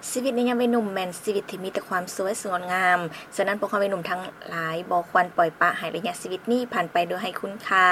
ຊີວິດໃນຍາມວັຍໜຸ່ມແມ່ນຊີວິດທີ່ມີແຕ່ຄວາມສວຍສດງົດງາມ, ສະນັ້ນພວກເຮົາວັຍໜຸ່ມທັງຫຼາຍບໍ່ຄວນປ່ອຍປະໃຫ້ໄລຍະຊີວິດນີ້ຜ່ານໄປໂດຍໄຮ້ຄຸນຄ່າ.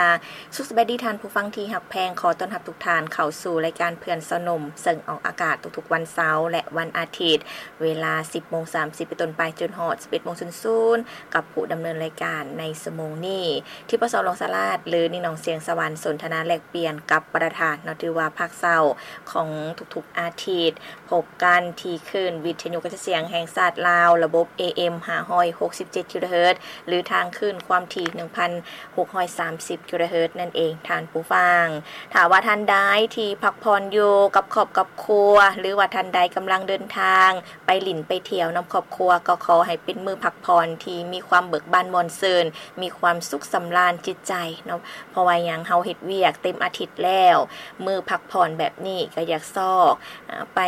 ສຸກສະບາຍດີທ່ານຜູ້ຟັງທີ່ຮັກແພງ, ຂໍຕ້ອນຮັບທຸກທ່ານເຂົ້າສູ່ລາຍການເພື່ອນຊາວໜຸ່ມ ເຊິ່ງອອກອາກາດທຸກໆວັນເສົາ ແລະ ວັນອາທິດ ເວລາສິບໂມງສາມສິບເປັນຕົ້ນໄປຈົນຮອດສິບເອັດໂມງສູນໆ ກັບຜູ້ດຳເນີນລາຍການໃນຊົ່ວໂມງນີ້ ທິບປະສອງ ຫຼວງສາລາດ ຫຼື ນິງໜອງ ສຽງສະຫວັນ ສົນທະນາແລກປ່ຽນກັບປະທານເນາະ ຖືວ່າພາກເຊົ້າຂອງທຸກໆອາທິດ ພົບກັນທີ່ຄື້ນວິທະຍຸກະຈາຍສຽງແຫ່ງຊາດລາວ ລະບົບ ເອເອັມ ຫ້າຮ້ອຍຫົກສິບເຈັດ ກິໂລເຮີດ ຫຼື ທາງຄື້ນຄວາມຖີ່ ໜຶ່ງພັນຫົກຮ້ອຍສາມສິບ ກິໂລເຮີດ ນັ້ນເອງທ່ານຜູ້ຟັງ. ຖ້າວ່າທ່ານໃດທີ່ພັກຜ່ອນຢູ່ກັບຄອບກັບຄົວ ຫຼືວ່າທ່ານໃດກຳລັງເດີນທາງ ໄປຫຼິ້ນໄປທ່ຽວນຳຄອບຄົວ ກໍຂໍໃຫ້ເປັນມື້ພັກຜ່ອນທີ່ມີຄວາມເບີກບານມ່ວນຊື່ນ, ມີຄວາມສຸກສຳລານຈິດໃຈເນາະ. ເພາະວ່າຫຍັງ? ເຮົາເຮັດວຽກເຕັມອາທິດແລ້ວ, ມື້ພັກຜ່ອນແບບນີ້ກໍຢາກຊອກ ອາ ໄປ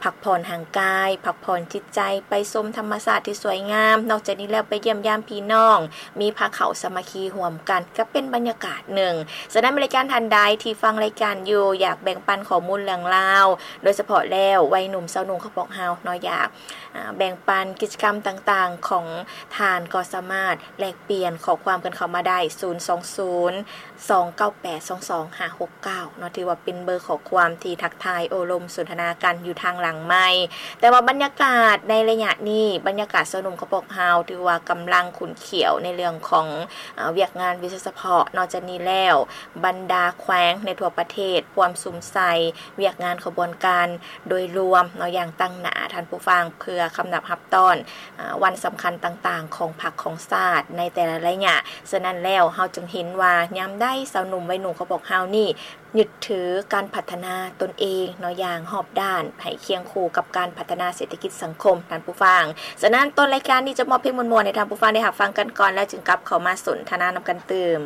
ພັກຜ່ອນຮ່າງກາຍ, ພັກຜ່ອນຈິດໃຈ, ໄປຊົມທຳມະຊາດທີ່ສວຍງາມ. ນອກຈາກນີ້ແລ້ວໄປຢ້ຽມຢາມພີ່ນ້ອງ, ມີພາເຂົ້າສາມັກຄີຮ່ວມກັນ ກໍເປັນບັນຍາກາດໜຶ່ງ. ສະນັ້ນ ບໍລິການທ່ານໃດທີ່ຟັງລາຍການຢູ່ ຢາກແບ່ງປັນຂໍ້ມູນເລື່ອງລາວ ໂດຍສະເພາະແລ້ວໄວໜຸ່ມຊາວໜຸ່ມຂອງພວກເຮົາເນາະ ຢາກ ອາ ແບ່ງປັນກິດຈະກຳຕ່າງໆຂອງທ່ານ ກໍສາມາດແລກປ່ຽນຂໍ້ຄວາມກັນເຂົ້າມາໄດ້ ສູນສອງສູນ ສອງເກົ້າແປດ ສອງສອງຫ້າຫົກເກົ້າ ເນາະ ຖືວ່າເປັນເບີຂໍ້ຄວາມທີ່ທັກທາຍໂອ້ລົມສົນທະນາກັນຢູ່ທາງຫຼັງໄມ. ແຕ່ວ່າບັນຍາກາດໃນໄລຍະນີ້ ບັນຍາກາດຊາວໜຸ່ມຂອງພວກເຮົາ ຖືວ່າກຳລັງຂຸ້ນຂ້ຽວໃນເລື່ອງຂອງ ອາ ວຽກງານວິຊາສະເພາະ. ນອກຈາກນີ້ແລ້ວ ບັນດາແຂວງໃນທົ່ວປະເທດ ພວມສຸມໃສ່ວຽກງານຂະບວນການໂດຍລວມເນາະ ຢ່າງຕັ້ງໜ້າທ່ານຜູ້ຟັງ ເພື່ອຄຳນັບຮັບຕ້ອນ ອາ ວັນສຳຄັນຕ່າງໆຂອງພັກຂອງຊາດໃນແຕ່ລະໄລຍະ. ສະນັ້ນແລ້ວ ເຮົາຈຶ່ງເຫັນວ່າຍາມໃດຊາວໜຸ່ມໄວໜຸ່ມຂອງພວກເຮົານີ້ ຍຶດຖືການພັດທະນາຕົນເອງເນາະ ຢ່າງຮອບດ້ານ ໃຫ້ຄຽງຄູ່ກັບການພັດທະນາເສດຖະກິດສັງຄົມ ທ່ານຜູ້ຟັງ. ສະນັ້ນ ຕົ້ນລາຍການນີ້ຈະມອບເພງມ່ວນໆໃຫ້ທ່ານຜູ້ຟັງໄດ້ຮັບຟັງກັນກ່ອນ ແລ້ວຈຶ່ງກັບເຂົ້າມາສົນທະນານຳກັນຕື່ມ.